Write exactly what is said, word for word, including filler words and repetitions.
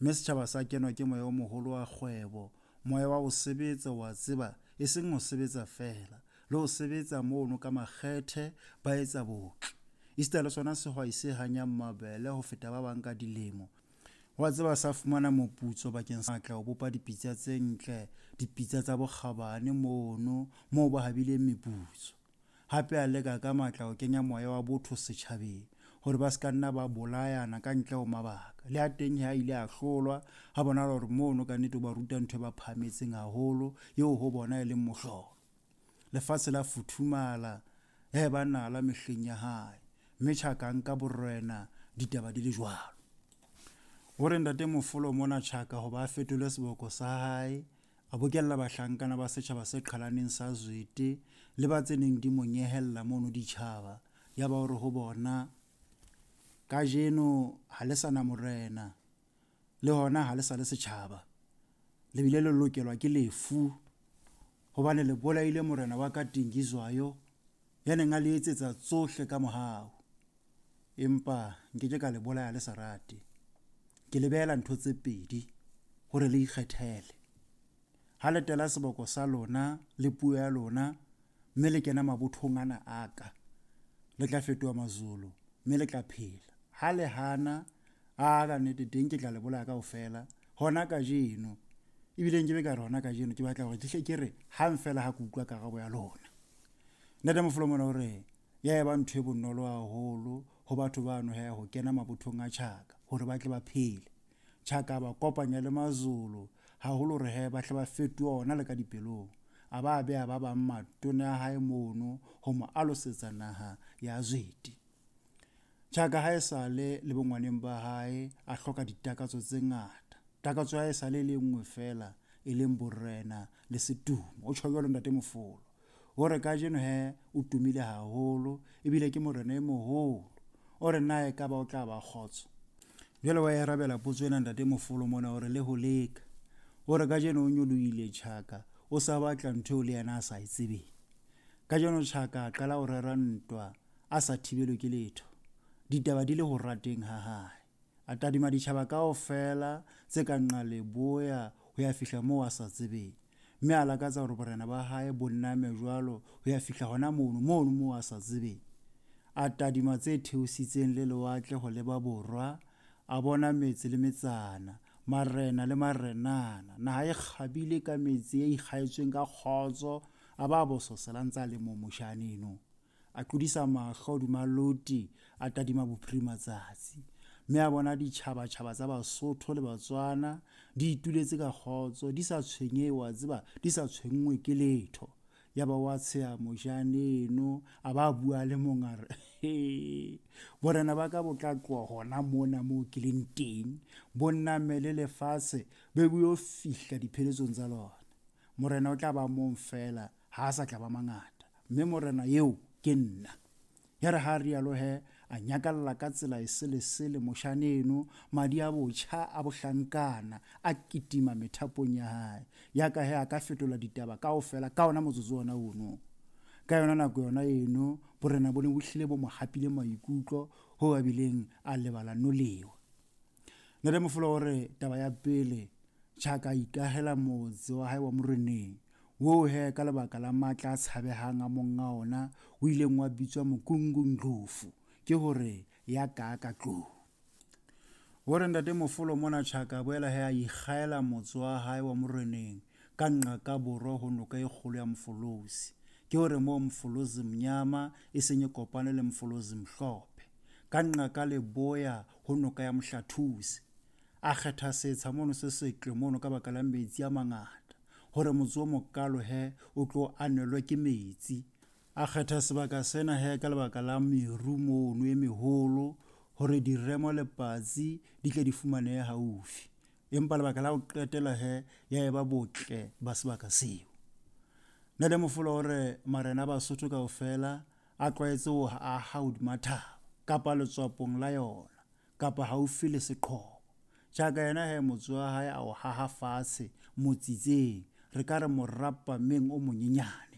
Mme setjhaba sa kenwa ke moya o moholo wa kgwebo, moya wa ho sebetsa, wa tseba, e seng ho sebetsa feela, le ho sebetsa mono ka makgethe ba etsa botle. Esita le sona sehwai se hanyang mabele ho feta ba bang ka dilemo, wa tseba sa fumana moputso bakeng sa matla ho bopa dipitsa tse ntle, dipitsa tsa bokgabane mono moo ba habileng meputso. Hape a leka ka matla ho kenya moya wa botho setjhabeng hore ba se ka nna ba bolayana ka ntle ho mabaka. Le ha teng ha ile a hlolwa, ha bonahala hore mono ka nnete o ba ruta ntho e ba phahametseng haholo, eo ho bona e leng mohlolo. Lefatshe la futhumala, ya eba nala mehleng ya hae, mme Tjhaka a nka borena ditaba di le jwalo. O re ntate Mofolo mona Tjhaka hoba a fetole seboko sa hae, a bokella bahlankana ba setjhaba se qhalaneng sa Zwete le ba tse neng di mo nyehella mono ditjhaba. Ya ba hore ho bona, kajeno ha le sa na morena, le hona ha le sa le setjhaba, le bile le lokelwa ke lefu, hobane le bolaile morena wa ka Dingizwayo, ya neng a le etsetsa tsohle ka mohau. Empa nkeke ka le bolaya le sa rate. Ke le behela ntho tse pedi hore le ikgethele. Ha le tela seboko sa lona le puo ya lona, mme le kena mabothong ana a ka, le tla fetoha Mazulu, mme le tla phela. Ha le hana, a ka nnete teng ke tla le bolaya kaofela hona kajeno. Ebile nkebe ka re hona kajeno, ke batla hore ke hle ke re hang feela ha ke utlwa karabo ya lona. Ntate Mofolo mona o re ya eba ntho e bonolo haholo ho batho bano he ho kena mabothong a Tjhaka hore ba tle ba phele. Tjhaka ba kopanya le Mazulu haholo hore he ba tle ba fetohe ona le ka dipelong. A ba beha ba bang matona a hae mono ho mo alosetsa naha ya Zwete. Tjhaka ha e sale le bongwaneng ba hae a hloka ditakatso tse ngata. Takatso ya hae e sale e le nngwe feela, e leng borena le setumo. O tjho jwalo ntate Mofolo. O re kajeno he o tumile haholo ebile ke morena e moholo. O re na ekaba o tla ba kgotso. Jwale wa e arabela potso ena ntate Mofolo mona hore le ho leka. O re kajeno o nyolohile Tjhaka, o sa batla ntho eo le yena a sa e tsebeng. Kajeno Tjhaka a qala ho rera ntwa a sa thibelwe ke letho. Ditaba di le ho rateng ha hae. A tadima ditjhaba kaofela tse ka nqa leboya ho ya fihla moo a sa tsebeng. Mme a lakatsa hore borena ba hae bo name jwalo ho ya fihla hona mono, mono moo a sa tsebeng. A tadima tse theositseng le lewatle ho leba borwa, a bona metse le metsana, marena le marenana. Naha e kgabile ka metsi e ikgaetsweng ka kgotso, a ba bososela ntse a le moo moshane eno. A tlodisa mahlo hodima loti, a tadima bophirimatsatsi, mme a bona ditjhabatjhaba tsa Basotho le Batswana di ituletse ka kgotso, di sa tshwenyehe, wa tseba, di sa tshwenngwe ke letho. Ya ba wa tsheha moshane eno, a ba bua le mong a re, he, borena ba ka bo tla tloha hona mona moo ke leng teng, bo nnamele lefatshe, be bo yo fihla dipheletsong tsa lona. Morena o tla ba mong feela, ha a sa tla ba mangata, mme morena eo ke nna. Ya re ha rialo he, a nyakalla ka tsela e selesele moshane eno, madi a botjha a bohlankana a kitima methapong ya hae. Ya ka he a ka fetola ditaba kaofela ka ona motsotso ona ono. Ka yona nako yona eno, borena bo ne bo hlile bo mo hapile maikutlo ho a bileng a lebala nolewa. Ntate Mofolo o re taba ya pele, Tjhaka a ikahela motse wa hae wa moreneng, oo he ka lebaka la matla a tshabehang a monga ona o ileng wa bitswa Mokungundlovu, ke hore ya ka ka tlou. O re ntate Mofolo mona Tjhaka a boela he a ikgaela motse wa hae wa moreneng ka nqa ka borwa ho noka e kgolo ya Mfolozi, ke hore moo Mfolozi Mnyama e seng e kopane le Mfolozi Mhlophe, ka nqa ka leboya ho noka ya Mohlathusi. A kgetha setsha mono se setle mono ka baka la metsi a mangata, hore motse o mokalo he o tlo anelwe ke metsi. A kgetha sebaka sena he ka lebaka la meru mono e meholo, hore diremo le patsi di tle di fumanehe haufi. Empa lebaka la ho qetela he ya eba botle ba sebaka seo. Ntate Mofolo o re marena a Basotho kaofela a tlwaetse ho aha hodima thaba kapa letswapong la yona kapa haufi le seqhobo. Tjhaka yena he motse wa hae a o haha fatshe motsitseng, re ka re morapameng o monyenyane.